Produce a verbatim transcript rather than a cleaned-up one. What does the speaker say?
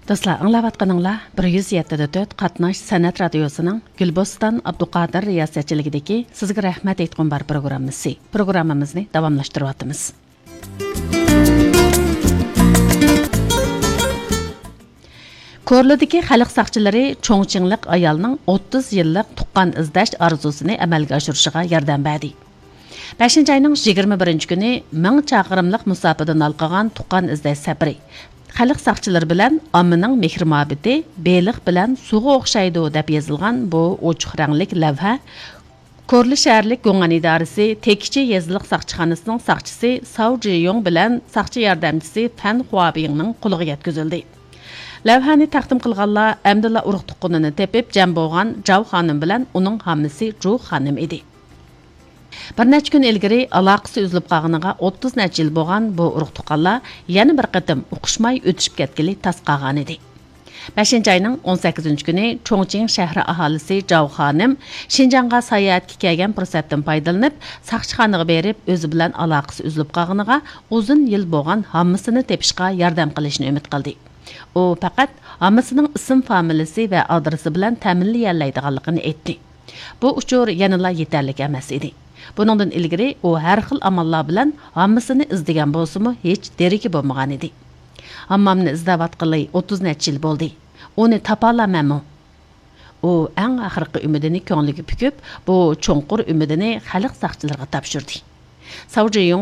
دوستلار، ئاڭلاۋاتقىنىڭلار بىر يۈز يەتتە دە تۆت قاتناش سەنئەت رادىيوسىنىڭ گۈلبوستان ئابدۇقادىر رىياسەتچىلىكىدىكى سىزگە رەھمەت ئېيتقۇم بار پروگراممىسى. پروگراممىمىزنى داۋاملاشتۇرۇۋاتىمىز. كورلىدىكى خەلق ساقچىلىرى چوڭچىڭلىق ئايالنىڭ ئوتتۇز يىللىق تۇغقان ئىزدەش ئارزۇسىنى ئەمەلگە ئاشۇرۇشىغا ياردەم بەردى. بەشىنچى ئاينىڭ يىگىرمە بىرىنچى كۈنى مىڭ چاقىرىملىق مۇساپىدىن ھالقىغان تۇغقان ئىزدەش سەپىرى خەلق ساقچىلىرى بىلەن ئاممىنىڭ مېھرى-مۇھەببىتى بېلىق بىلەن سۇغا ئوخشايدۇ، دەپ يېزىلغان بۇ ئوچۇق رەڭلىك لەۋھە كورلا شەھەرلىك گوڭئەن ئىدارىسى تېكىچى يېزىلىق ساقچىخانىسىنىڭ ساقچىسى ساۋ جىيۇڭ بىلەن ساقچى ياردەمچىسى فەن خۇابىڭنىڭ قولىغا يەتكۈزۈلدى. لەۋھەنى تەقدىم قىلغانلار ئەمدىلا ئۇرۇق-تۇغقىنىنى تېپىپ جەم بولغان جاۋ خانىم بىلەن ئۇنىڭ ھاممىسى جۇ خانىم ئىدى. بىر نەچچە كۈن ئىلگىرى ئالاقىسى ئۈزۈلۈپ قالغىنىغا ئوتتۇز نەچچە يىل بولغان بۇ ئۇرۇق-تۇغقانلار يەنە بىر قېتىم ئۇقۇشماي ئۆتۈشۈپ كەتكىلى تاس قالغانىدى. بەشىنچى ئاينىڭ ئون سەككىزىنچى كۈنى چوڭچىڭ شەھىرى ئاھالىسى جاۋ خانىم شىنجاڭغا ساياھەتكە كەلگەن پۇرسەتتىن پايدىلىنىپ، ساقچىخانىغا بېرىپ، ئۆزى بىلەن ئالاقىسى ئۈزۈلۈپ قالغىنىغا ئۇزۇن يىل بولغان ھاممىسىنى تېپىشقا ياردەم قىلىشنى ئۈمىد قىلدى. ئۇ پەقەت ھاممىسىنىڭ ئىسىم فامىلىسى ۋە ئادرېسى بىلەن تەمىنلىيەلەيدىغانلىقىنى ئېيتتى. بۇ ئۇچۇر يەنىلا يېتەرلىك ئەمەس ئىدى. بۇنىڭدىن ئىلگىرى ئۇ ھەر خىل ئاماللار بىلەن ھاممىسىنى ئىزدىگەن بولسىمۇ، ھېچ دېرىكى بولمىغانىدى. ھاممامنى ئىزدەۋاتقىلى ئوتتۇز نەچچە يىل بولدى. ئۇنى تاپالامەنمۇ؟ ئۇ ئەڭ ئاخىرقى ئۈمىدىنى كۆڭلىگە پۈكۈپ، بۇ چوڭقۇر ئۈمىدىنى خەلق ساقچىلىرىغا تاپشۇردى. ساۋ جىيۇڭ